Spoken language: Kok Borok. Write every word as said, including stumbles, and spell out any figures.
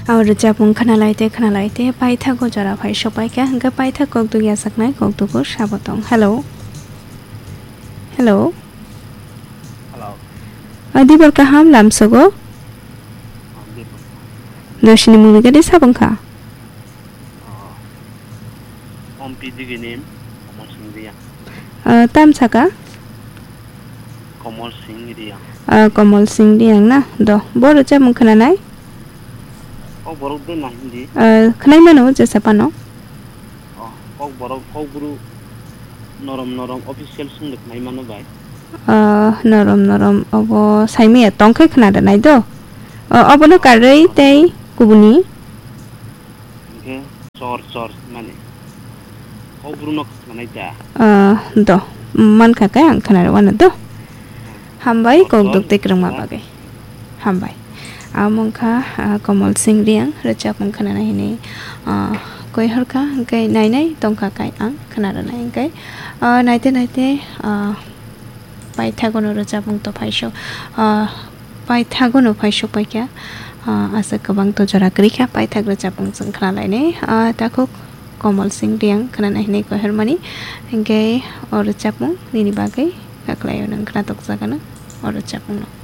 O rwchapmung khwnalaite khwnalaite paithago jora phai sokpaikha, hwnkhe paithak kokduk yachaknai kokduk sabo tong. Hello. Hello. Hello. O dibor kaham lamsogo. O, dibor. Dosini mungni gadi sabong kha. O, Ompi digini Komol Singh Riang. O, tam saka? Komol Singh Riang. O, Komol Singh Riang na? Do, bo rwchapmung khwnanai? O borok de na hindi. O, khwnai mano jesa pano? O, kok borok, kok buru norom norom official sung de khwnai mano bai. O, norom norom obo saimaya tongkhe khwna rwnai do. O, obono karwi tei kubuni? Hingke chor chor mani. Kok buru no khwna nai da. O, do, mankha khe ang khwna rwano do. Hambai, kok duk tei kwrwngma bagwi. Hambai. Amo wngkha, ah, Komol Singh Riang rwchapmung khwnana hinwi, ah, koi horkha, hwnkhe nai nai tongkha kai ang khwna rwnai hwnkhe, ah, naite naite, ah, paithagono rwchapmung to phaisok, ah, paithagono phaisok paikha, ah, aswk kwbang to jora kwrwikha paithak rwchapmung chwng khwnalainai, ah, takhuk Komol Singh Riang khwnana hinwi koi hormani, hwnkhe o rwchapmung nini bagwi kaklaio nwng khwna tokjagano o rwchapmungno.